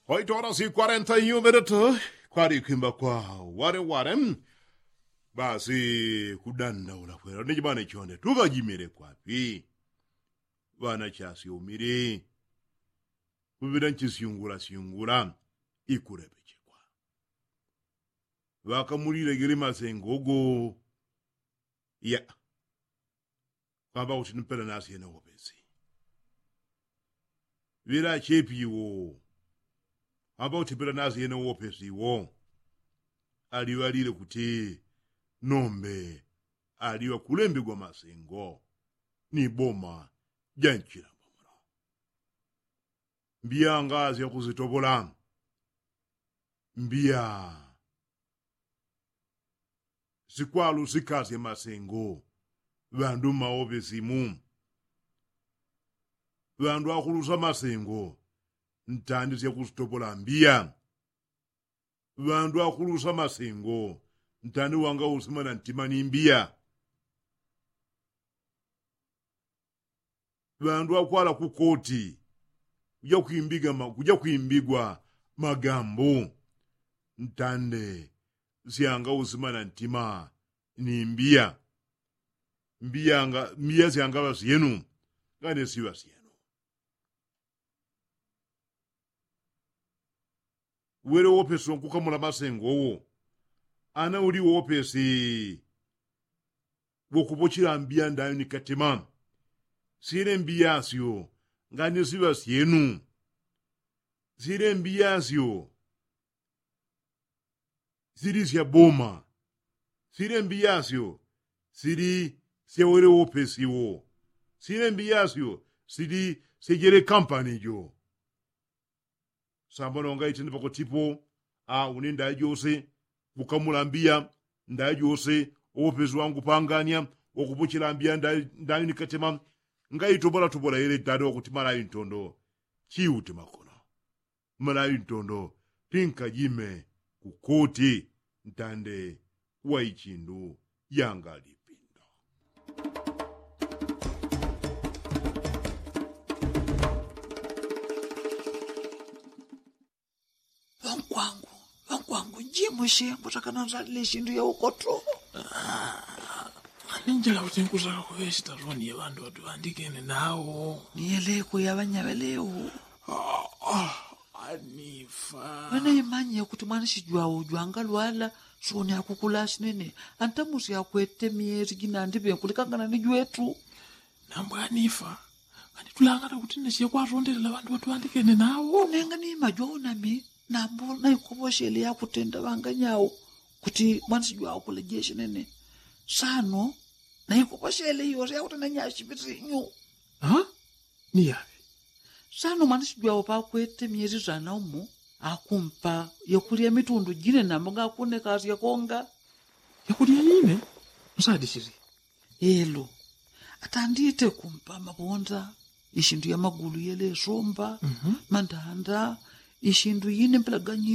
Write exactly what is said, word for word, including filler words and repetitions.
Oito horas y kwarenta y un minutu. Kwali kwimba kwa wale wale. Basi kudandaula kwela ni jimane chonde tukajimile kwapi? Ŵana chasyumili kupita nchisyungula syungula ikulepechekwa. Ŵakamulilegele masengo go ya kwamba kuti nipela nasyene wopesi. Ŵela achepi iwo kwamba kuti pela nasyene wopesi iwo aliŵalile kuti nombe aliŵa kulembegwa masengo ni boma ja nchilambo muno. Mbiya nga syakusitopola mbiya sikwalusikasya masengo. Ŵandu mmaopesi mu ŵandu akulusa masengo ntandi syakusitopola mbiya. Ŵandu akulusa masengo ntandi wanga usima na ntima ni mbiya. Ŵandu akwala kukoti kuja kwimbigwa magambo ntande syanga usima na ntima ni mbiya. Mbiya syanga ŵasyenu ngane siŵasyenu. Wele wopesi wankukamula masengo wo ana uli wopesi wokupochela mbiya ndayo ni katema. Sile mbiya syo ngane siŵa syenu. Sile mbiya syo sili sya boma. Sile mbiya syo sili sya wele wopesi wo. Sile mbiya syo sili sya jele kampani jo. Samba nonga itene pakotipo a une ndayi jose kukamula mbiya ndayi jose. Owopesi wangu panganya wakupochela mbiya ndayi ni katema. Ngaitobolatobola yele dada wakuti malayi ntondo. Chiute makono malayi ntondo. Tinkajime kukoti ntande wa ichindu yanga lipindo. Ŵankwangu ŵankwangu njimushe mbutakana nzalile ishindu yaukoto. Ninjila kuti nkusaka kuŵe sitaloni ya ŵandu ŵatuŵandikene nawo. Niyeleko ya ŵanyaŵelewo. Anifa. Ŵanaimanye kuti mwanishijwawo jwangalwala soni akukulasinene. Antamusi akwete myesi jinandiŵe nkulikangana ni jwetu. Nambwanifa. Nganitulangana kuti nesiye kwatondelela ŵandu ŵatuŵandikene nawo. Nenga nimajwawo nami nambo naikoposhele yakutenda ŵanganyawo kuti mwanishijwawo kulejeshe nene. Sano naikoposhele yose yakutenda nyashipisinyu. Niyaŵe. Sano mwanishijwawo pakwete myesi sana umo akumpa yakulya mitundu jine nambo ngakunekasya konga. Yakulya ine? Msadisili. Elo atandite kumpa mabonda ishindu ya magulu yelesomba mandanda ishindu ine mpelaganyiro.